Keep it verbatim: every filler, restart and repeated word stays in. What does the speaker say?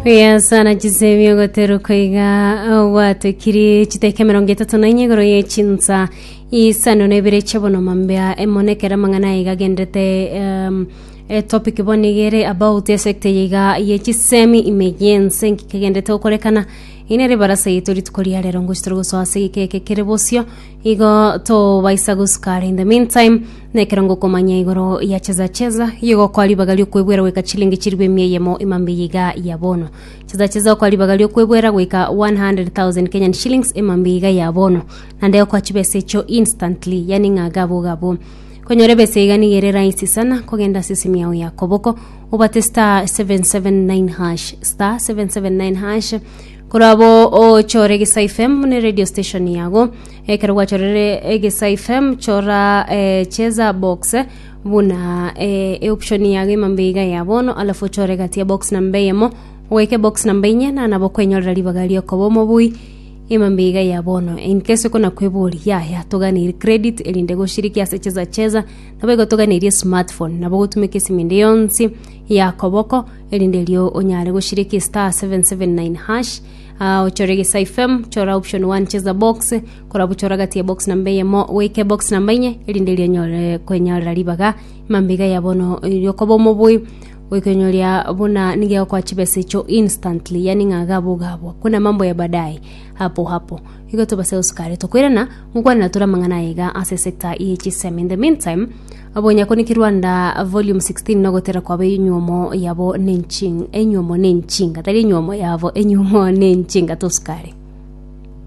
Yes, sana chisemi ogoteruka iga gwatekiri chiteke emerongo etato na inye igoro ye chinsa isano na ibere chiabono mambia emonekera amang'ana iga agendete um, etopic bono igere about esector iga ye chisemi ime yense nkikegendete gokorekana inere barasa yetu rituko ria rero ngochi gosoa ase gikeke kere bosio igo tobaisa gosukara in the meantime nekero ngokomanya igoro ya cheza cheza igo kwa ribaga riokwebwera goika chilingi chirigwe emia eyemo emambe iga ya bono cheza cheza okwa ribaga riokwebwera goika one hundred thousand Kenyan shillings emambe iga ya bono nande okwa chibesa echo instantly, yani ng'a gabo gabo konyora ebesa iga nigere rahisi sana kogenda ase esimu yao ya koboko obate star seven seven nine hash, star seven seven nine hash korabo ochore Egesa F M ne radio station yago. Ekero gwachorere Egesa F M, chora eh, cheza box eh, buna eh, e option yago emambe iga ya bono, alafu ochore gati ya box namba eyemo ogoike box namba inye na nabo kwenyorera ribaga riokoba omobui emambe iga ya bono. In case okona kwebori yaya toganire credit erinde goshiriki ase cheza cheza, nabo igo toganirie smartphone nabo gotumeka esimu ende yonsi ya koboko erinde erio onyare goshiriki star seven seven nine hash, uh, ochore Gesa F M, chora option one cheza box, korabu chora gati ya box namba eyemo goike box namba inye erinde erio onyore kwenyorera ribaga emambe iga ya bono riokoba omobui goikonyoria buna nige kwa chibesa echo instantly, yani ng'a gabo gabo kuna mambo ya baadaye hapo hapo. Igo tobase gosukare tokwirana ngokwanera tura mang'ana iga ase sector ye chisemi. In the meantime, abonyako ni Kirwanda volume sixteen nogotera kwabo enyuomo yabo nenchinga, enyuomo nenchinga, tari enyuomo yabo, enyuomo nenchinga tosukare.